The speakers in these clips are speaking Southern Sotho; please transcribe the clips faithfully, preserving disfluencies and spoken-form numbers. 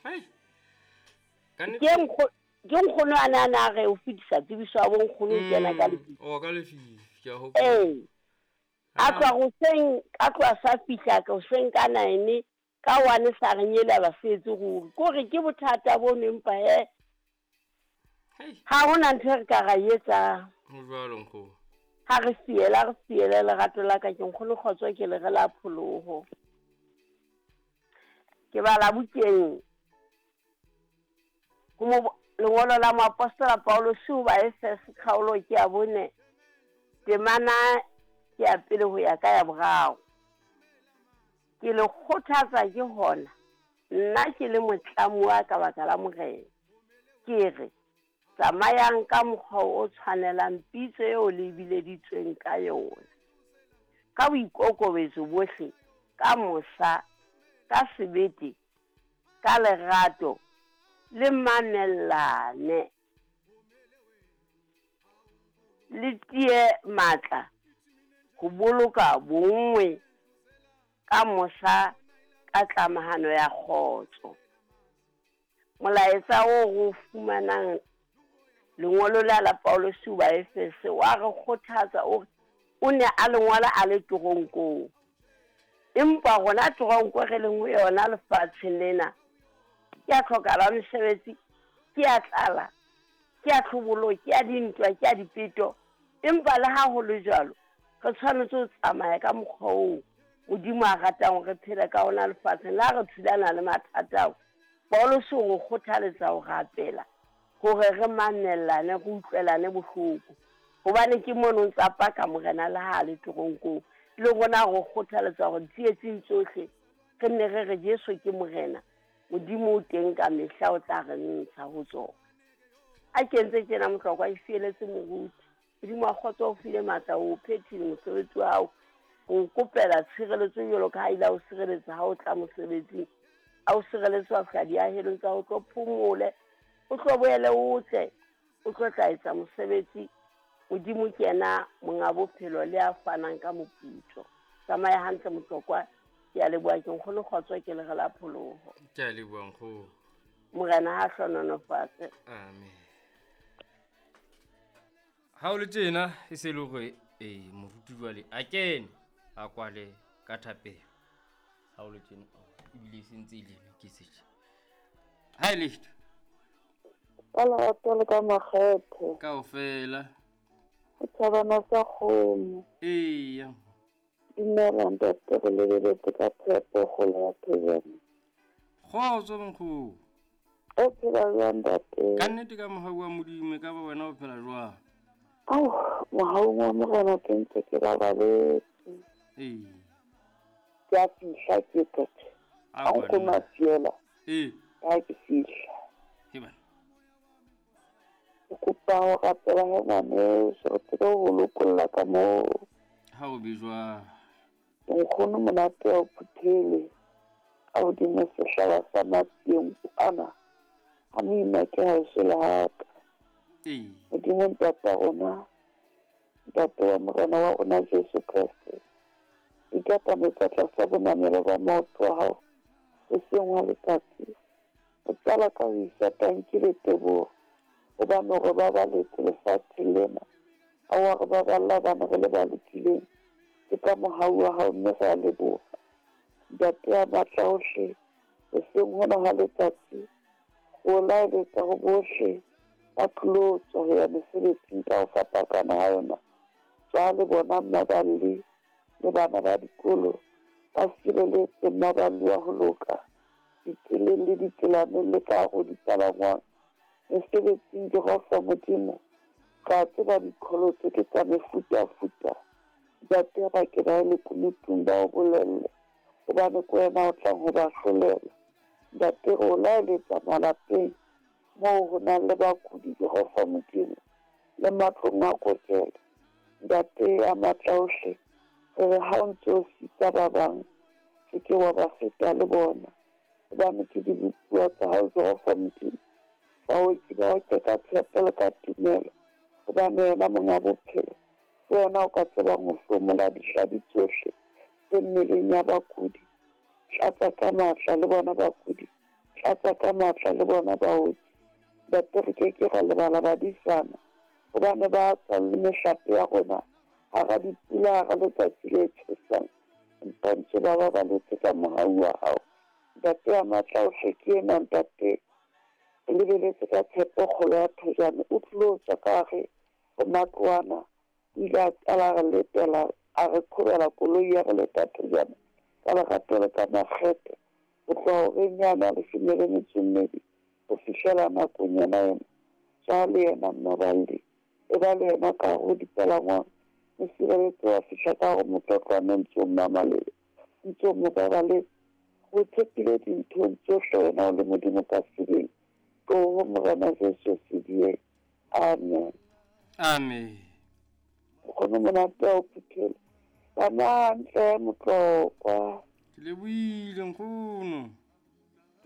Hai. Ka nnete. Ke nkgo ke nkgono a ne a na re o fetisa tsebiso ya bo nkgono o kena ka Mm, lefifi. O ka lefifi, ke a hopola. Ee. A tloha hoseng, a tloha sa fihla ka hoseng ka nine, ka one sa re nyela ba setse ruri. Kore ke bothata bono empa he. Hei. Ha hona ntho e re ka ra e etsang. Ho jwalo nkgono. Ha re fiela, re fiele lerato la ka ke nkgono kgotso ke le re la pholoho. Ke bala bukeng ho mo lengolo la moapostola Paulus ho Baefese kgaolo ke ya bone temana ke ya pele ho ya ka ya boraro. Ke le kgothatsa ke hona nna ke le motlamuwa ka baka la Morena. Ke re tsamayang ka mokgwa o tshwanelang pitso eo le bileditsweng ka yona. Ka boikokobetso bohle, ka mosa, ka sebete, ka lerato, le mamellane. Le tie matla ho boloka bonngwe ka mosa ka tlamahano ya kgotso. Molaetsa oo re o fumanang lengolo la la Paulus ho Baefese wa re kgothatsa o re o ne a le ngola a le teronkong. Empa rona teronko re leng ho yona lefatsheng lena ke ya tlhokala mesebetsi, ke ya tlala, ke ya tlhobolo, ke ya dintwa, ke ya dipeto. Empa le ha ho le jwalo, re tshwanetse ho tsamaya ka mokgwa oo Modimo a ratang hore re phele ka ona lefatsheng. Le ha re thulana le mathata ao, Paulus o re kgothaletsa ho rapela hore re mamellane, re utlwelane bohloko. Hobane ke mono ntsa paka Morena le ha a le teronkong. Le rona re kgothaletsa hore ditsietsing tsohle re nne re re Jesu ke Morena. Modimo o teng ka mehla o tla re ntsha ho tsona. A ke ntse tjena Mohlokwa e fieletse moruti. Modimo wa kgotso o file matla o phethile mosebetsi wa hao. O kopela tshireletso jwalo ka ha ile a o sireletsa ha o tla mosebetsing. A o sireletse wa fihla diahelong tsa ho tlo phomole. O tlo boele o tle, o tlo tla etsa mosebetsi. Modimo ke yena monga bophelo le a fanang ka moputso. Tsamaya hantle Mohlokwa. Ke a leboha ke nkgono kgotso ke le re la pholoho. Ke a leboha nkgono. Morena ha hlohonolofatse. Amen. Ha o le tjena e se le hore eh moruti jwale a kene a kwale ka thapelo. Ha o le tjena ebile e sentse e le ke setjha. Ha e le Ka lerato le ka makgethe. Kaofela. Ho thabana sa kgomo. Eya. Dumela ntate, re lebeletse ka tshepo kgolo ya phejane. Kgotso nkgono. O phela jwang ntate? Ka nnete ka mohau wa Modimo, ka ba wena o phela jwang? Ao, mohaung wa Morena ke ntse ke babaletse. Ee. Ke a fihla ke qete. A Ha nkgono a fiela. Ee. Ka ke fihla. He bana. Ke kopa ho rapela he ngwaneso, re tsebe ho lokolla ka moo. Ha o be jwang? Nkgono monate wa o phuthele ka hodimo sehlaba sa matsieng ana. Ha moima ke haeso le haka. Ee. Modimo ntata rona, ntate wa Morena wa rona Jesu Kreste, ikatametse tlasa bonamelo ba maoto a hao hoseng hwa letsatsi. O qala ka ho isa tanki le teboho, hobane o re babaletse lefatsheng lena. Ha wa re baballa hobane re le ba lokileng. Ke ka mohau wa hao mme re a leboha. Ntate ya matla ohle, hoseng hona hwa letsatsi, o laeletsa ho bohle ba tlilo tswa ho ya mesebetsing ka ho fapakana ha yona. Tswa le bona mmaballi le bana ba dikolo ba sireletse mmaballi wa ho loka ditseleng le ditselaneng le ka hare ho dipalangwang. Mesebetsing Jehova Modimo, ka tseba diqholotso ke tsa mefutafuta. Ntate ba ke ba le kunutung ba o bolelle, hobane ke wena o tlang ho ba hlolela. Ntate re o laeletsa malapeng moo ho nang le bakudi Jehova Modimo le matlong a kokelo. Ntate ya matla ohle, re re ha o ntse o sitsa ba bang, se ke wa ba feta le bona, hobane ke dibopuwa tsa hao Jehova Modimo. Baoki ba oke ka tshepo le ka tumelo, hobane wena monga bophelo ke wena o ka tsebang ho hlomola dihlabi tsohle tse mmeleng ya bakudi. Tlatsa ka matla le bona bakudi, Tlatsa ka matla le bona baoki. Ntate re ke ke ra lebala badisana hobane ba tswa le mehlape ya rona hara dipula, hara letsatsi le tjhesang, empa ntse ba babaletse ka mohau wa hao. Ntate ya matla ohle ke ena ntate, re lebeletse ka tshepo kgolo ya thojane. O tlilo tswa ka hare ho matlwana, o ile a qala a re letela, a re qhobela koloi ya re leta thojane ka lerato le ka makgethe ho tloha horeng yane ya leshome le metso e mmedi ho fihlela nakong yona ena. Tswa le yena mmaballi, e ba le yena ka hare ho dipalangwang, mo sireletse wa fihla ka hare motlotlwane ntse o mmamalele, ntse o mo babaletse. Ho tshepile dinthong tsohle wena o le Modimo ka sebele. Tloho Morena Jesu sedie. Amen. Amen. Nkgono monate wa ho phuthela. Tsamaya hantle Motlokwa. Ke lebohile nkgono.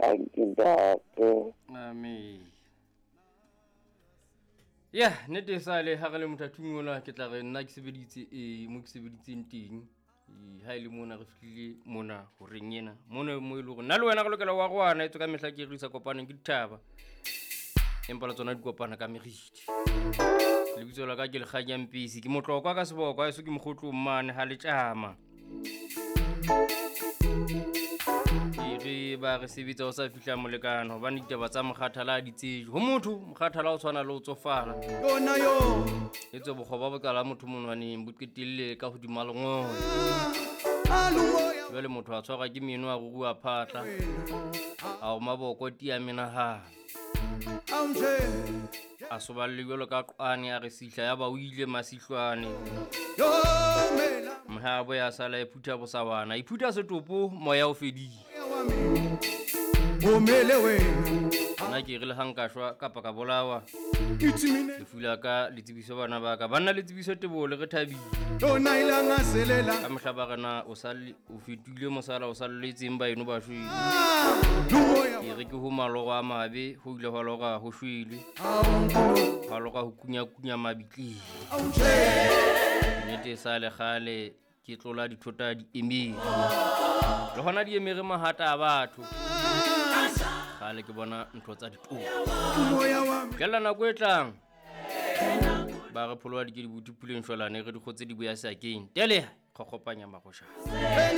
Thank you ntate. Amen. Ya, nnete e sale ha re le mothating ona ke tla re nna ke sebeditse e mo ke sebeditseng teng. Ha e le mona re fihlile mona horeng ena. Mona mo e leng hore nna le wena re lokela ho arohana etswe ka mehla ke re isa kopaneng ke dithaba. Empa le tsona di kopana ka meriti. Lebitso la ka ke Lekganya Mpisi, ke Motlokwa ka seboko, haeso ke mokgotlong mane ha le tjama. Ke re ba re sebetsa ho sa fihla molekane hobane ditaba tsa mokgathala ha di tsejwe. Ho motho mokgathala o tshwana le ho tsofala. Yona yo. Etswe bokgoba bo qala motho monwaneng bo qetelle ka hodima lengolo. Jwale motho a tshwarwa ke meno a ruruha phatla. A o maboko tia menahano. A soballe jwalo ka qwane a re sihla ya ba o ile masihlwane. Mohabo ya sala e phutha bosawana, e phutha setopo moya o fedile. Nna ke re le ha nka shwa kapa ka bolawa, lefu la ka le tsebiso bana ba ka. Banna le tsebiso Teboho le re thabile. Ka mehla ba re na o sale o fetohile mosala o salletseng baeno ba shwele. Ke re ke ho maloro a mabe ho ile hwa lora ho shwele. Hwa lora ho kunyakunya mabitleng. Nnete e sale kgale ke tlola dithota di emere. Le hona di emere mahata a batho. Kgale ke bona ntho tsa ditoro. Fihlela nako e tlang. Ba re pholoha di ke di buti puleng shwalane re di kgotse di boya sakeng. Teleha kgokgopanya maroshana.